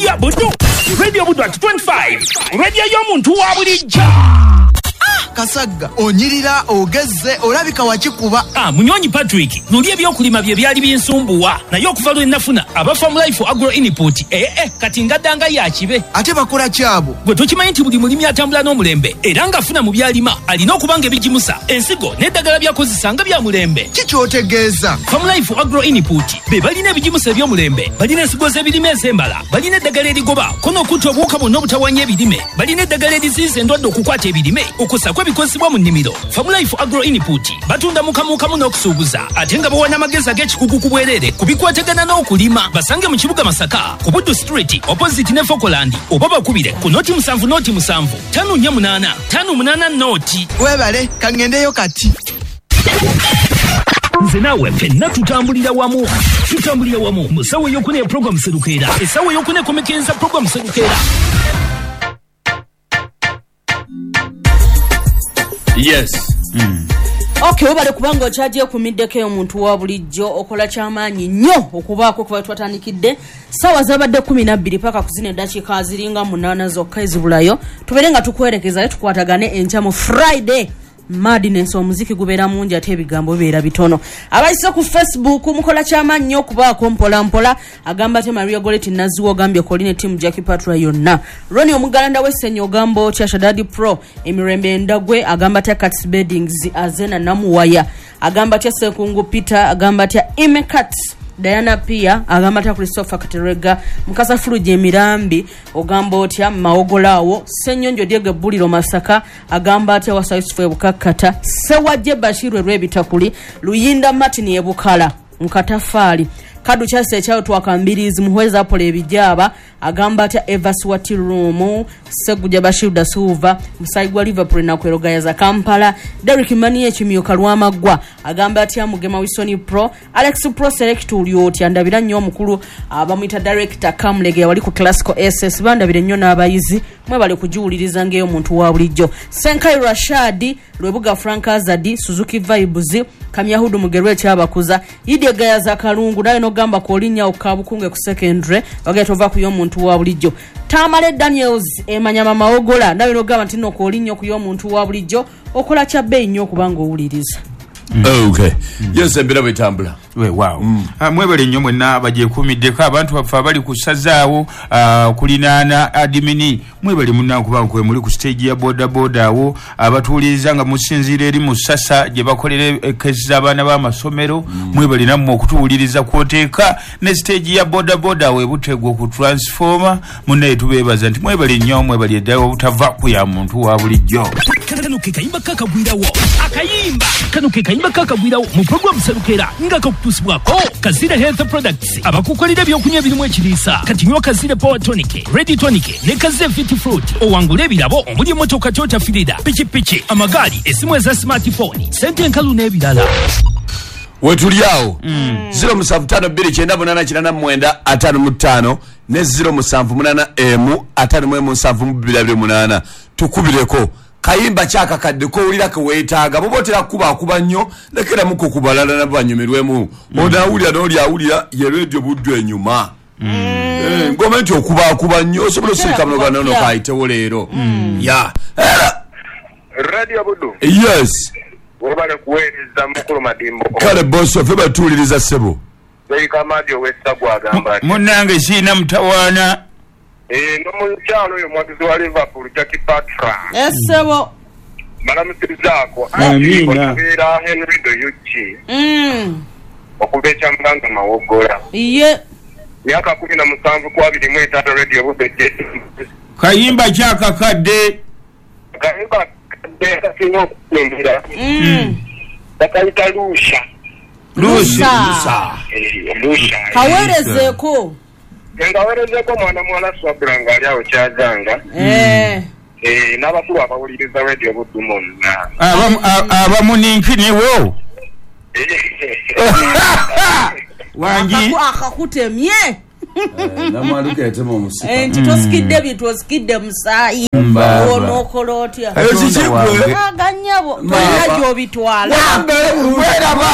Ya Buddu, Radio Buddu at 25, radio y'omuntu wa bulijjo. Kasagga onyirira ogezze olabika wakikuba. Munywanyi Patrick, luli ebyokulima bye byali binsumbuwa, naye okuva lwe nafuna aba Farm Life Agro Input, kati ngaddanga yakibe. Ate bakola kyabo? Gwe tokimanyi nti buli mulimi atambula n'omulembe era ng'afuna mu byalima alina okuba nga ebigimusa, ensigo n'eddagala by'akozesa nga bya mulembe. Ki ky'otegeeza? Farm Life Agro Input be balina ebigimusa eby'omulembe, balina ensigo z'ebirime ez'embala, balina eddagala erigoba ko n'okutta obuwuka bwonna obutawaanya ebirime, balina eddagala eriziyiza endwadde okukwata ebirime, okussako ebikozesebwa mu nnimiro. Farm Life Agro Input batunda mukamukamu n'okusuubuza, ate nga bawa n'amagezi ag'ekikugu ku bwereere ku bikwatagana n'okulima. Basange mu kibuga Masaka ku Buddu Street opposite ne Fokoland, oba bakubire ku 07 07 58 58 noti. Webale, kangendeyo kati. Nze naawe ffenna tutambulira wamu, tutambulira wamu mu ssaawa ey'okuna ya program Serukeera, essaawa ey'okuna ekomekereza program Serukeera. Yes. Okay, webale kubanga okyagyeekumiddeko omuntu wa bulijjo, okola kyamaanyi nnyo okubaako kuba twatandikidde ssaawa zabadde 12 paka ku zino eddakiika ziringa 8 zokka ezibulayo. Tubeere nga tukwerekeza tukwatagane enkya mu Friday Madness. Omuziki gubeera mungi ate ebigambo bibeera bitono. Abayise ku Facebook mukola kyamaanyi nnyo okubaako mpola mpola. Agamba ate Maria Goretti Naziwa ogambye Coline team Jackie Patra yonna. Ronnie Omugalanda w'Essenyo ogamba otya Shadadi Pro emirembe endagwe agamba atya Cats Beddings Azena Namuwaya agamba atya Sekungu Peter agamba atya Imecat Diana Pia agamba atya Christopher Katerega Mukasa Fuluji emirambi ogamba otya Maogolaawo Ssenyonjo Diego Buliro Masaka agamba atya Wasa Yusufu Ebukakkata Sewajje Bashiru Erwebitakuli Luyinda Martin Ebukala Mukatafaali Kadu Chase ekyayo twakambirizi Muhweza Apollo ebijaba agamba atya Evas Wati Room Seguja Bashiru da Silva Musayi gwa Liverpool na kwerogayaza Kampala Derrick Mani ekimyuka Lwamaggwa agamba atya Mugema Wilson Pro Alex Pro Select uli otya ndabira nnyo omukulu abamuyita Director Kamulege wali ku Classical SS bandabire nnyo n'abayizi mwebale kugiwuliriza ng'eyo omuntu wa bulijjo. Senkai Rashadi Lwebuga Frank Azadi Suzuki Vibes Kamyahudu Mugerwe ekyabakuza Idye Gayaza Kalungu naye nogamba kolinnya okabukunge ku secondary bagenda ova ku y'omuntu wa bulijjo. Tamale Daniels emanyama Mawogola nawe nogamba nti no kolinnya ku y'omuntu wa bulijjo okola kya bbeeyi nnyo okubanga owuliriza. Okay. Yes, embeera bwetambula. Weewaawo. Mwebale nnyo mwenna abagyekuumiddeko, abantu baffe abali ku ssazaawo kulinaana adimini, mwebale munna kubanga kwe muli ku stage ya bodaboda awo abatuwuliriza nga musinziira eri mu ssasa gye bakolera ekesi z'abaana b'amasomero, mwebale nammwe okutuwuliriza kwoteeka ne stage ya bodaboda awo ebutegwa ku transformer. Munnaye tubeebaza nti mwebale nnyo, mwebale eddala obutava ku ya muntu wa bulijjo. Kano ke kayimba kakagwirawo akayimba kano ke kayimba kakagwirawo mu program Serukeera nga kakutuusibwako Kazira Health Products abakukolera ebyokunywa ebirimu ekiriisa. Kati nywa Kazira Power Tonic, Ready Tonic ne Kazira Fit Fruit owangule ebirabo omuli emmotoka Toyota Firida, pikipiki, amagaali, essimu eza smartphone, sente enkalu n'ebirala. Wetuli awo 07529889 55 ne 0781 517228 tukubireko kayimba kyakakadde kowulira keweetaaga bwoba otera kuba nnyo lekeramuko ku balala nabo banyumirwemu. Onaawulira n'oli awulira ye Radio Buddu enyuma. Ngoma nti okubaakuba nnyo osobola osirika muno ganono kayitewo leero. Ya Radio Buddu. Yes. Webale kuweereza mukulu Madimbo. Kale boss ffe batuwuliriza ssebo. Kamadi ow'Essagwa agamba ati munnange siina mutawaana. N'omukyalo oyo omuwagizi wa Liverpool Jackie Patra. Essebo. Balamusirizaako. Amiina. Okubeera Henry Doyuchi. Okuva ekyamuganga Mawogola. Ye. Myaka 17 ku 25 Radio Buddu. Kayimba kyakakadde. Kayimba kadde kasinga okukumbira. Bakayita Lusha. Lusa. Lusha. Kaweerezeeko. Ngaweerezeko mwana muwala Swabula ng'ali awo Kyazanga. N'abakulu abawuliriza Radio Buddu monna. Abamuninkiniwo. Wangi. Akakutemye. Namwandu etema omusika. Nti tosikidde bintu osikidde musaayi. Onookola otya? Ekyo kiki gwe? Aganyabo tolina gy'obitwala. Weraba.